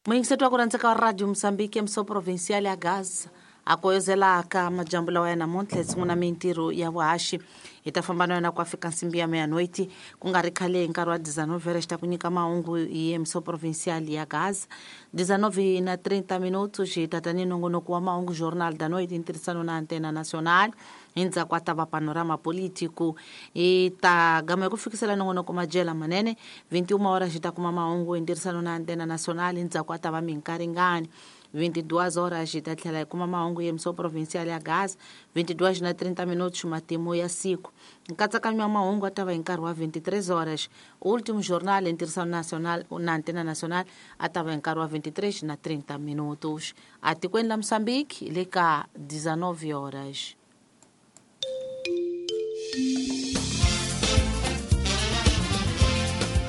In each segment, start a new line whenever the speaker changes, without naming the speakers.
Muyingiseti wa ku rhandzeka wa Radio Mozambique, emso provincial ya Gaza a koyozelaka majambu lawa ya namuntlha hi sungula mintirho ya vuhaxi. Hi ta famba na yona ku fika nsimbi ya meia-noite, ku nga ri khale hi nkarhi wa 19 xi ta ku nyika mahungu hi emso provincial ya Gaza. 19 na 30 minutos hi ta ta ni nongonoko wa mahungu Jornal da Noite hi ntirhisano na Antena Nacional. Hi ndzhaku a ta va Panorama Político. Hi ta gama hi ku fikisela nongonoko Majela Manene. 21 horas hi ta kuma mahungu hi ntirhisano na Antena Nacional. Hi ndzhaku a ta va Minkaringani. 22 horas hi ta tlhela hi kuma mahungu ya emso provincial ya Gaza. 22 na 30 minutos matimu ya siku. Nkatsakanyo wa mahungu a ta va hi nkarhi wa 23 horas. Último jornal hi ntirhisano nacional na Antena Nacional a ta va hi nkarhi wa 23 na 30 minutos. Atikweni la Mozambique le ka 19 horas.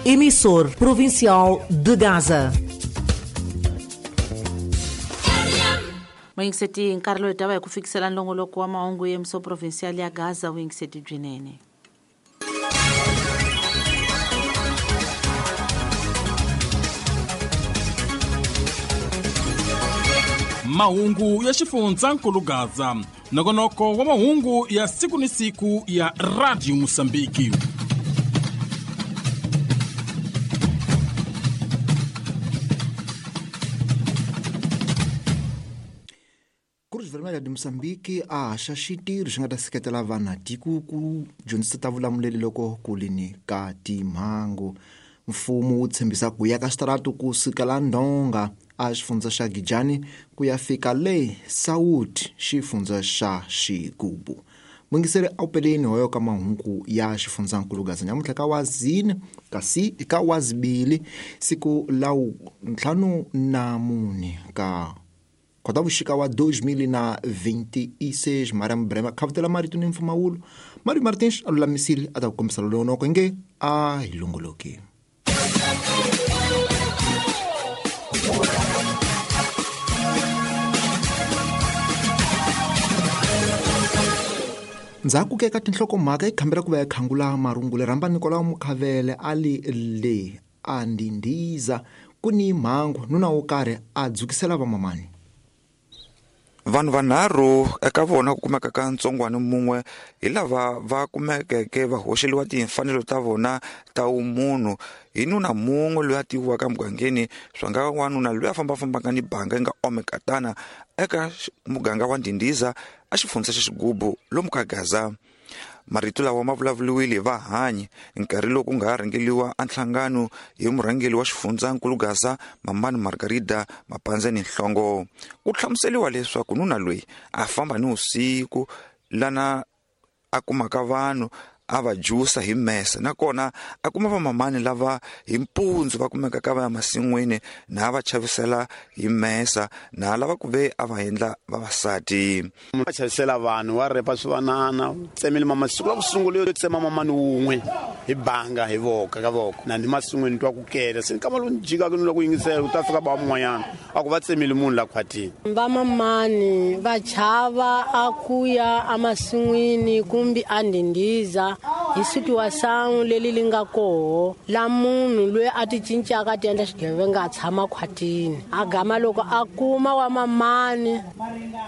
Emissor Provincial de Gaza.
Muyingiseti, nkarhi lowu hi ta va hi ku fikisela nongonoko wa mahungu ya emso provincial ya Gaza. Vuyingiseti byinene.
Mahungu ya xifundzankulu Gaza, nongonoko wa mahungu ya siku ni siku ya Radio Mozambique.
Cruz Vermelha de Moçambique a haxa xitirho xi nga ta seketela vanhu tiko ku dyondzisa ta vulamuleli loko ku ri ni ka timhangu. Mfumo wu tshembisa ku ya ka switaratu ku sukela Ndonga a xifundza xa Gijani ku ya fika le Saúde xifundza xa Xigubu. Muyingiseri a wu peleni hoyo ka mahungu ya xifundzankulu Gaza nyamuntlha ka wazini kasi ka wazibili siku la 54 ka Khotavuxika wa 2026. Mariam Brema khavutela marito ni mpfumawulo. Mario Martins a lulamisile a ta ku kombisa lonoko nge a hi longoloki. Ndzhaku ke ka tinhlokomhaka hi khambela ku va hi khangula marungula. Rhamba Nicolau Mukhavele a li le a ndindiza ku ni mhangu nuna wo karhi a dzukisela vamamani.
Vanhu vanharhu eka vona ku kumeka ka ntsongwana mun'we hi lava va kumekeke va hoxeliwa timfanelo ta vona ta vumunhu hi nuna mun'we loyi a tiviwaka emugangeni, swa nga wanuna loyi a fambafambaka ni banga yi nga omekatana eka muganga wa Ndindiza a xifundza xa Xigubu lomu ka Gaza. Marito lawa ma vulavuriwile hi vahanyi nkarhi lowu ku nga rhangeliwa a nhlangano hi murhangeri wa xifundzankulu Gaza Mamani Margarida Mapandzeni Nhlongo. Ku hlamuseliwa leswaku nuna loyi a famba ni vusiku lana a kumaka vanhu a va jusa hi mese, nakona a kuma vamamani lava hi mpundzu va kumeka ka va ya masin'wini na va chavisela hi mesa na lava ku ve a va endla vavasati.
Va chavisela vanhu wa repa swivanana, tsemile mama siku la ku sungula yo tsema mamani wun'we hi banga hi voko ka voko na ni masin'wini twa ku kela se nkama lowu jikaka ni loko yingisela ku ta fika ba mun'wanyana a ku va tsemile munhu la khwatini.
Vamamani va chava a ku ya emasin'wini kumbe a ndindiza hi situação leli li nga koho la munhu loyi a ti cincaka a ti endla xigevenga a tshama khwatini a gama loko a kuma wa mamani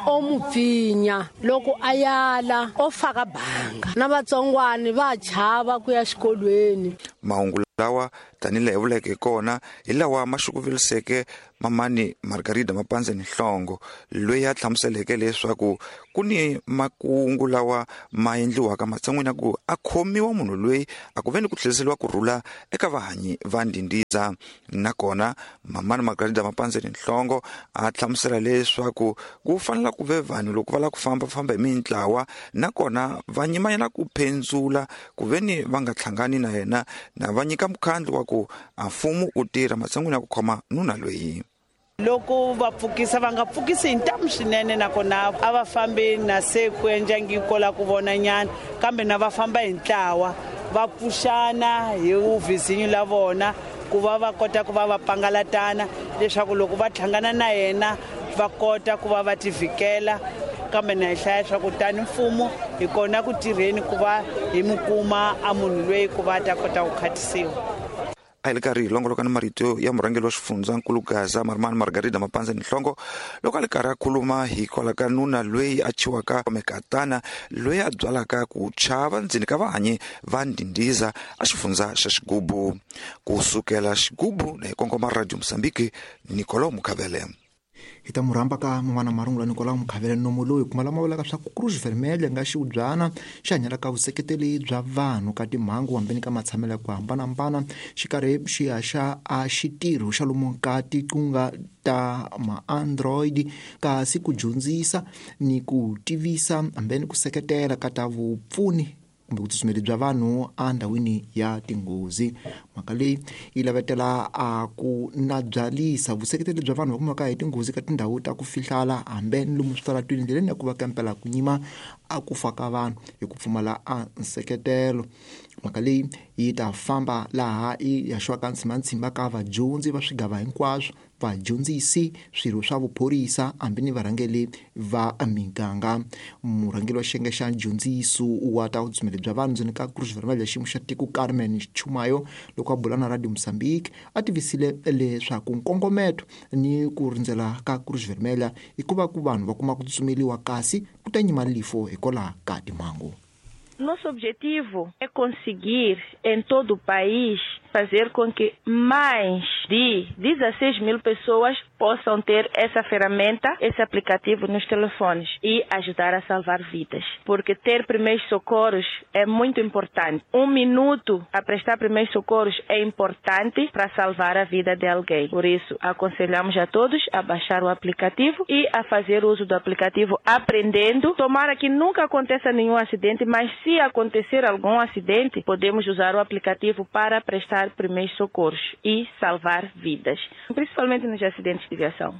o mu pfinya loko a yala o faka banga na vatsongwani va chava ku ya xikolweni.
Mahungu lawa tanihi laha hi vuleke kona hi lawa ma xukuveliseke Mamani Margarida Mapandzeni Nhlongo loyi a hlamuseleke leswaku ku ni makungu lawa ma endliwaka matshan'wini ya ku a khomiwa munhu loyi a ku ve ni ku tlheriseriwa ku rhula eka vahanyi va Ndindiza. Nakona Mamani Margarida Mapandzeni Nhlongo a hlamusela leswaku ku fanele ku ve vanhu loko va lava ku fambafamba hi mintlawa nakona va nyimanyana ku phendzula ku ve ni va nga hlangani na yena na va nyika mukhandlu wa ku a mfumo wu tirha matshan'wini ya ku khoma nuna loyi.
Loko va pfukisa va nga pfukisi hi ntamu swinene, nakona a va fambi na se ku endla ko la ku vona nyana, kambe na va famba hi ntlawa va pfuxana hi vhizinyu la vona ku va va kota ku va va pangalatana leswaku loko va hlangana na yena va kota ku va va tivikela. Kambe na hi hlaya leswaku tani mfumo hi kona ku tirheni ku va hi mi kuma a munhu loyi ku va ta kota ku khatisiwa.
A hi le karhi hi longoloka ni marito ya murhangeri wa xifundzankulu Gaza Marimani Margarida Mapanza Nhlongo loko a le karhi a khuluma hikwalaho ka nuna loyi a chiwaka mekatana loyi a byalaka ku chava ndzeni ka vahanyi va ndhindiza a xifundza xa Xigubu. Ku sukela Xigubu na hi kongoma Radio Mozambique, Nicolau Mukhavele.
Hi ta mu rhamba ka man'wana marungula Nicolau Mukhavele nomo loyi kuma lama vulaka swa ku Cruz Vermelha nga xiubyana xi hanyela ka vuseketeli bya vanhu ka timhangu hambeni ka matshamelo ya ku hambanahambana xikarhi xi haxa a xitirho xa lomu ka tiqunga ta ma-android kasi ku dyondzisa ni ku tivisa hambeni ku seketela ka ta vupfuni kumbe vutsutsumeli bya vanhu endhawini ya tinghozi. Mhaka leyi yi lavetela a ku nabyalisa vuseketeli bya vanhu va kumaka hi tinghozi ka tindhawu ta ku fihlala hambe ni lomu switaratwini ndleleni ya ku va kampela ku nyima a ku fa ka vanhu hi ku pfumala a nseketelo. Mhaka leyi yi ta famba laha yi haxiwaka ntshimantshimba ka vadyondzi va swigava hinkwaswo, vadyondzisi, swirho swa vuphorisa hambi ni varhangeri va miganga. Murhangeri wa xiyenge xa dyondziso wa ta vutsutsumeli bya vanhu ndzeni ka Cruz Vermelha xiyimo xa tiko Carmen Chumayo loko a bula na Radio Mozambique a tivisile leswaku nkongometo ni ku rindzela ka Cruz Vermelha i ku va ku vanhu va kuma ku tsutsumeliwa kasi ku ta nyima lifo hikwalaho ka timhangu.
Nosso objetivo é conseguir, em todo o país, fazer com que mais de 16 mil pessoas possam ter essa ferramenta, esse aplicativo nos telefones e ajudar a salvar vidas. Porque ter primeiros socorros é muito importante. Um minuto a prestar primeiros socorros é importante para salvar a vida de alguém. Por isso, aconselhamos a todos a baixar o aplicativo e a fazer uso do aplicativo aprendendo. Tomara que nunca aconteça nenhum acidente, mas se acontecer algum acidente, podemos usar o aplicativo para prestar primeiros socorros e salvar vidas, principalmente nos acidentes de viação.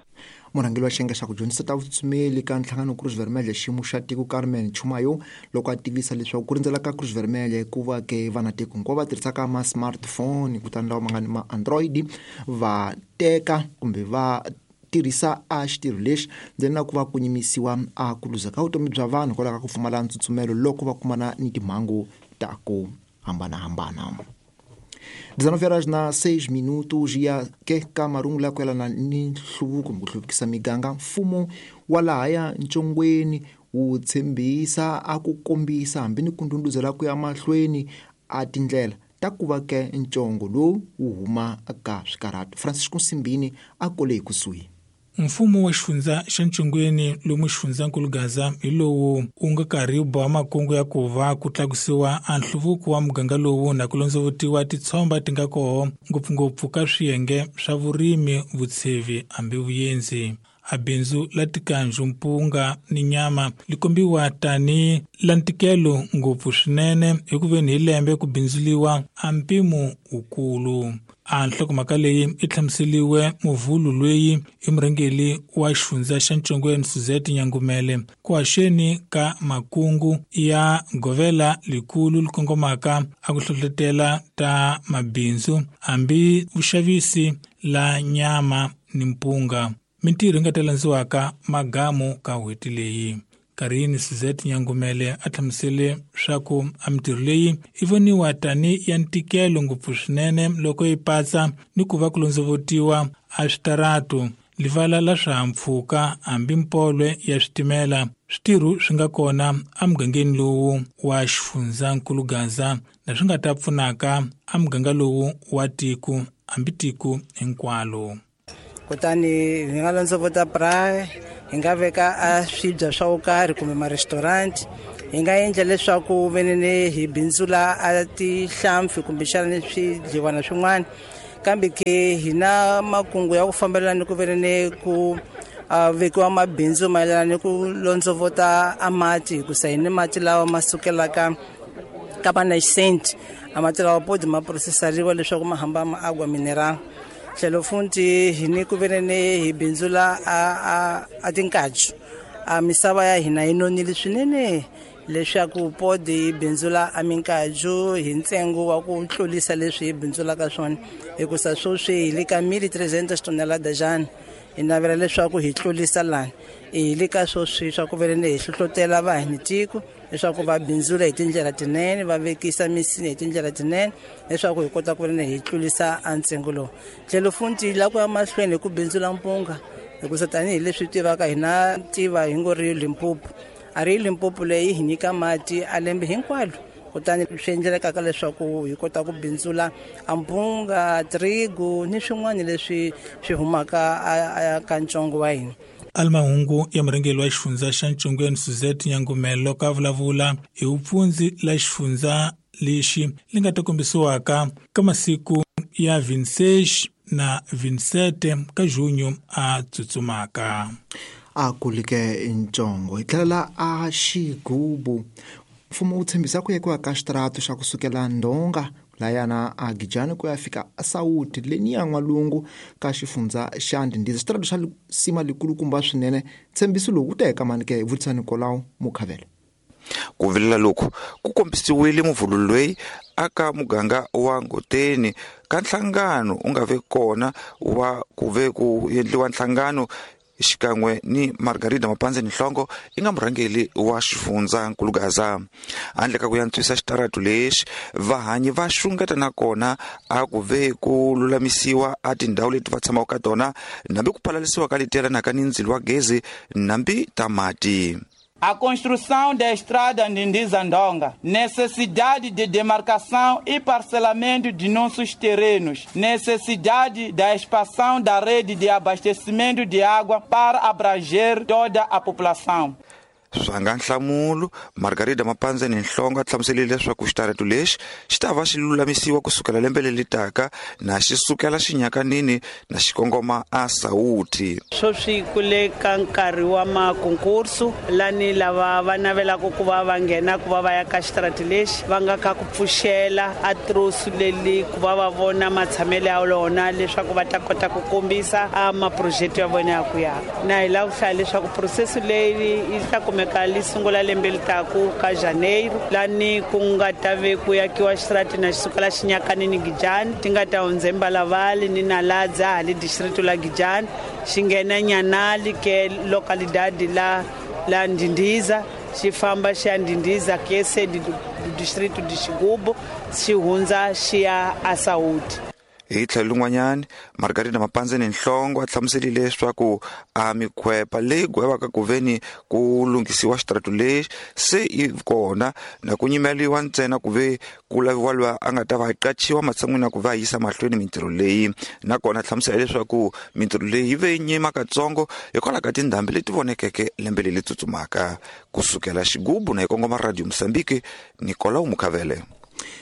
Murhangeri wa xiyenge xa ku dyondzisa ta vutsutsumeli ka nhlangano Cruz Vermelha xiyimo xa tiko Carmen Chumayo loko a tivisa leswaku ku rindzela ka Cruz Vermelha ku va ke vanatiko hinkwavo va tirhisaka ma-smartphone kutani lawa ma nga ni ma-android va teka kumbe va tirhisa a xitirho lexi ndzeni na ku va ku nyimisiwa a ku luza ka vutomi bya vanhu hikwalaho ka ku pfumala ntsutsumelo loko va kumana ni timhangu ta ku hambanahambana. 19:06 ya ke ka marungula ya ku yelana ni nhluvuko kumbe ku hluvukisa miganga. Mfumo wa lahaya Ntshongweni wu tshembisa a ku kombisa hambi ni ku ndhundhuzela ku ya mahlweni a tindlela ta ku va ke ntsongo lowu wu huma ka swikarhato. Francisco Nsimbini a kole hi kusuhi.
Mfumo wa xifundza xa Ntshongweni lomu xifundzankulu Gaza hi lowu wu nga karhi wu boha makungu ya ku va ku tlakusiwa a nhluvuko wa muganga lowu na ku londzovutiwa titshomba ti nga koho ngopfungopfu ka swiyenge swa vurimi, vutshevi hambi vuyenzi. A bindzu la tikanju, mpunga ni nyama li kombiwa tani la ntikelo ngopfu swinene hikuveni hi lembe ku bindzuliwa a mpimo wukulu. A nhlokomhaka leyi i hlamuseliwe muvhulu loyi i murhangeri wa xifundza xa Ntshongweni Suzette Nyangumele ku haxeni ka makungu ya govela likulu li kongomaka a ku hlohlotela ta mabindzu hambi vuxavisi la nyama ni mpunga. Mintirho yi nga ta landziwaka magamu ka n'hweti leyi. Karini Suzette Nyangumele a hlamusele swa ku a mintirho leyi yi voniwa tani ya ntikelo ngopfu swinene loko yi patsa ni ku va ku londzovotiwa a switaratu, livala la swihahampfhuka hambi mpolwe ya switimela. Switirho swi nga kona emugangeni lowu wa xifundzankulu Gaza na swi nga ta pfunaka emuganga lowu wa tiko hambi tiko hinkwalo.
Kutani hi nga londzovota braai, hi nga veka a swibya swa wo karhi kumbe ma-restaurant, hi nga endla leswaku venene hi bindzula a tihlampfi kumbexana ni swidliwana swin'wana. Kambe ke hi na makungu ya ku fambelana ni ku venene ku vekiwa mabindzu mayelana ni ku londzovota a mati, hikusa hi ni mati lawa ma sukelaka ka va nascent, a mati lawa podi ma processariwa leswaku ma hamba ma agua mineral. Tlhelo futhi hi ni ku venene hi bindzula a tinkaju. A misava ya hina yi nonile swinene leswaku podi yi bindzula a minkaju hi ntsengo wa ku tlurisa leswi hi bindzulaka swona, hikusa sweswi hi le ka 1.300 tonelada jana. Hi navela leswaku hi tlurisa lani hi le ka sweswi swa ku venene hi hlohlotela vanhu tiko Leswaku va bindzula hi tindlela tinene, va vekisa misinya hi tindlela tinene, leswaku hi kota ku ri hi tlulisa a ntsengo lowu. Tlhelo futhi hi lava ku ya mahlweni hi ku bindzula mpunga, hikusa tanihileswi tivaka hina tiva hi ngo ri Limpopo, a ri Limpopo leyi hi nyika mati a lembe hinkwalo. Kutani swi endlekaka leswaku hi kota ku bindzula a mpunga, trigo ni swin'wana leswi swi humaka ka ntsongo wa hina.
Alimahungu ya murhangeri wa xifundza xa Ntshongweni Suzette Nyangumelo ka vulavula hi vupfundzi la xifundza lexi li nga ta kombisiwaka ka masiku ya 26 na 27 ka junho a tsutsumaka.
A kulike ntsongo hi tlhela a xigubu. Mfumo wu tshembisa ku yekiwa ka xitaratu xa kusukela Ndonga layana a Gijani ku ya fika Sawuti leniya n'walungu ka xifundza xa Ndhindiza. Xitaratu xa sima likulukumba swinene. Tshembiso lowu wu ta eka mani ke? Vutisa Nicolau Mukhavele.
Ku vilela loku ku kombisiwile muvhulu loyi aka muganga wa Ngoteni ka nhlangano u nga ve kona wa ku ve ku endliwa nhlangano xikan'we ni Margarida Mapandzeni Nhlongo i nga murhangeri wa xifundza Nkulugaza. Handle ka ku yantswisa xitaratu lexi, vahanyi va xungeta nakona a ku ve ku lulamisiwa a tindhawu leti va tshamaka ka tona, nambi ku phalalisiwa ka leti yelanaka ni ndzilo wa gezi nambi ta mati.
A construção da estrada Ndindiza-Ndonga, necessidade de demarcação e parcelamento de nossos terrenos, necessidade da expansão da rede de abastecimento de água para abranger toda a população.
Swanga nhlamulo, Margarida Mapandzeni Nhlongo a hlamuserile leswaku xitaratu lexi xi ta va xi lulamisiwa kusukela lembe leri taka na xi sukela xinyakanini na xi kongoma a Sawuti.
Sweswi ku le ka nkarhi wa makonkursu lani lava va navelaka ku va va nghena ku va va ya ka xitaratu lexi va nga ka ku pfuxela a trosu leli ku va va vona matshamelo ya lona leswaku va ta kota ku kombisa a maproject ya vona ya ku ya. Na hi lava ku hlaya leswaku process leyi yi ta kumeka li sungula lembe li taku ka Janeiro lani ku nga ta ve ku yakiwa xitarati na xi sukela xinyakanini Gijani ti nga ta hundza Mbalavali ni Naladza hali distrito la Gijani xi nghena Nyanali ke localidade la Ndindiza xi famba xi ya Ndindiza ke sede do distrito de Xigubu xi hundza xi ya a Saúde.
Hi tlhelo lin'wanyani, Margarida Mapandzeni Nhlongo a hlamuserile leswaku a mikhwepa leyi gwevaka ku veni ku lunghisiwa xitaratu lexi se yi kona na ku nyimeliwa ntsena ku ve ku laviwa loyi a nga ta va a qachiwa matshan'wini ya ku va yisa mahlweni mintirho leyi. Nakona a hlamusela leswaku mintirho leyi yi ve yi nyima katsongo hikwalaho ka tindhambi leti vonekeke lembe leri tsutsumaka. Kusukela Xigubu na yi kongoma Radio Mozambique, Nicolau Mukhavele.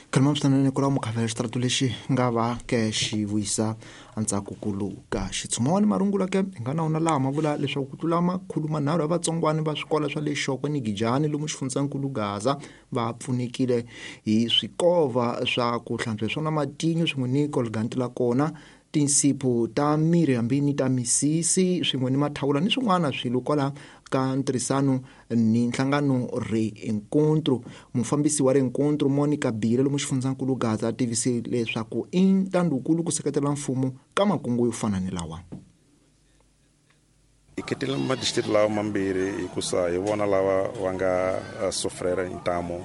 Khalima swinene Nicolau Mukhavele. Xitaratu lexi nga va ke xi vuyisa ntsakukulu ka xitshumawani marungula ke hi nga na wona laha ma vula leswaku ku tlula 300 ya vatsongwana va swikolo swa le Xokwe ni Gijani lomu xifundzankulu Gaza va pfunekile hi swikova swa ku hlantswa swona matinyo swin'we ni colgate la kona, tinsipho ta miri hambi ni ta misisi swin'we ni mathawula ni swin'wana swilo kwala ka ntirhisano ni nhlangano Reencontro. Mufambisi wa Reencontro Monica Bile lomu xifundzankulu Gaza a tivise leswaku i ntandukulu ku seketela mfumo ka makungu yo fana ni lawa.
Hi khetile madistrito lawa mambirhi hikusa hi vona lava va nga sofrera ntamu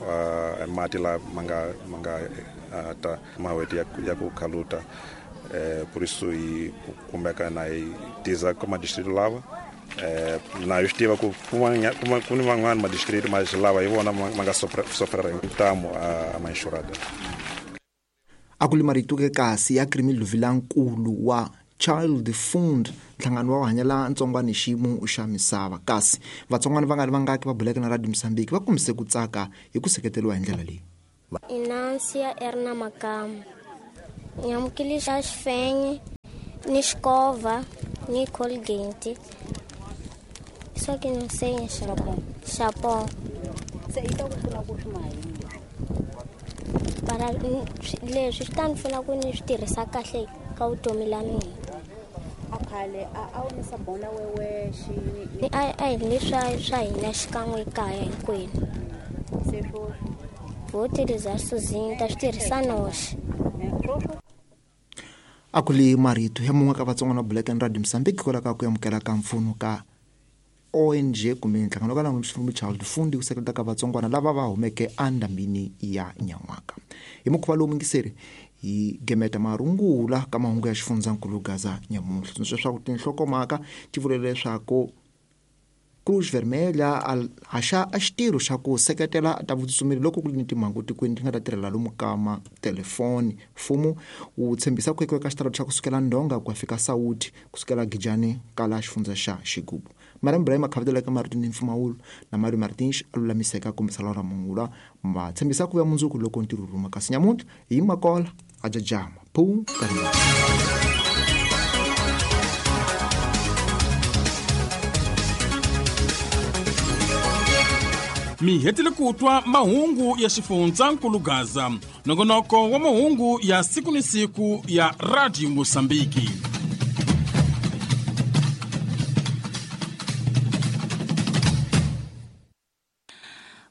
mati la ma nga ta maweti ya ku khaluta. Por isso hi kumeka na hi tiza ka madistrito lava. Na hi swi tiva ku ku ni van'wani madistrito ma lava hi vona ma nga sofrera ntamu a ma insurada.
A ku li marito ke kasi ya Krimi Luvilankulu wa Child Fund, nhlangano wa hanyela ntsongwana xiyimo xa misava. Kasi vatsongwana va nga ri vangaki va buleke na Radio Mozambique va kombise ku tsaka hi ku seketeriwa hi ndlela leyi.
Inansia Erna Makamu. Nyamukile xa xifenye ni xikova ni Colgate. Só que não sei chapon.
Se yi ta ku pfuna ku swi mahini.
Para leswi swi ta ni pfuna ku ni swi tirhisa kahle ka vutomi la mina.
A khale a wu ni sabona wewe xi
a hi leswi swa hina xikan'we ekaya hinkwenu.
Se swo
vo tirhisa sozinho ta swi tirhisa noxe.
A ku li marito ya mun'we ka vatsongwana Black and Radio Mozambique hikwalaho ka ku amukela ka mpfuno ka ONG kumbe nhlangano ka langu xifumbu Child Fund ku seketela ka vatsongwana lava va humeke endhambini ya Nyan'waka. Hi mukhuva lowu mingiseri hi gemeta marungula ka mahungu ya xifundzankulu Gaza nyamuntlha. Tsundzuxa leswaku tinhlokomhaka ti vule leswaku Cruz Vermelha a haxa a xitirho xa ku seketela ta vutsutsumeli loko ku ri ni timhangu tikweni ti nga ta tirhela lomu ka matelefoni. Mfumo wu tshembisa ku ekiwa ka xitarata xa kusukela Ndonga ku ya fika Sawuti kusukela Gijani kala xifundza xa Xigubu. Mariam Ibrahim a khavetela eka marito ni mpfumawulo na Mario Martins a lulamiseka a kombisa lawa ramungula va tshembisa ku vuya mundzuku loko ntirho wu rhuma kasi nyamuntlha hi makola a jajama phu nkarhi
Mi hetile ku twa mahungu ya xifundzankulu Gaza, nongonoko wa mahungu ya siku ni siku ya Radio Mosambiki.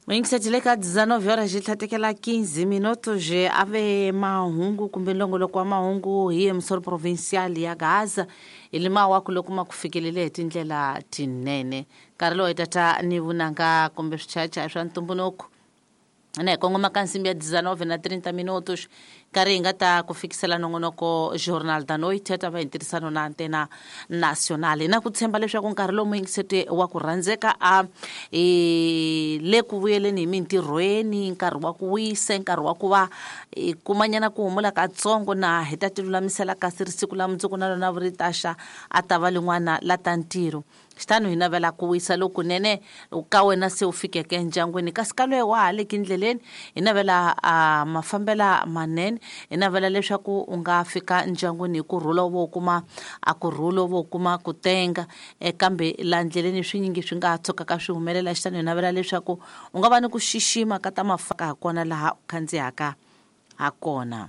Muyingiseti le ka 19 horas ji tlhatekela 15 minutos ave mahungu kumbe nlongoloko wa mahungu hi emisoro provincial ya Gaza hi lima ku loko ma ku fikelele hi tindlela tinene. Nkarhi lowu hi tata ni vunanga kumbe swichayachaya swa ntumbuluko na hi kongoma ka nsimbi ya 19 na 30 minutos nkarhi hi nga ta ku fikisela nongonoko Jornal da Noite ta va hi ntirhisano na Antena Nacional. Hi na ku tshemba leswaku nkarhi lowu muyingiseti wa ku rhandzeka a le ku vuyeleni hi mintirhweni, nkarhi wa ku wisa, nkarhi wa ku va hi kumanyana ku humula katsongo na hi ta ti lulamisela kasi ri siku la mundzuku na lona ri taxa a ta va lin'wana la ta ntirho. Xitano hi navela ku wisa lokunene ka wena se u fikeke endyangwini, kasi ka loyi wa ha le kindleleni hi navela a mafambela manene, hi navela leswaku u nga fika ndyangwini hi kurhula, u vo kuma a kurhula, u vo kuma ku tenga, kambe la ndleleni swinyingi swi nga tshukaka swi humelela. Xitano hi navela leswaku u nga va ni ku xixima ka ta mafaka ha kona laha u khandziyaka ha kona.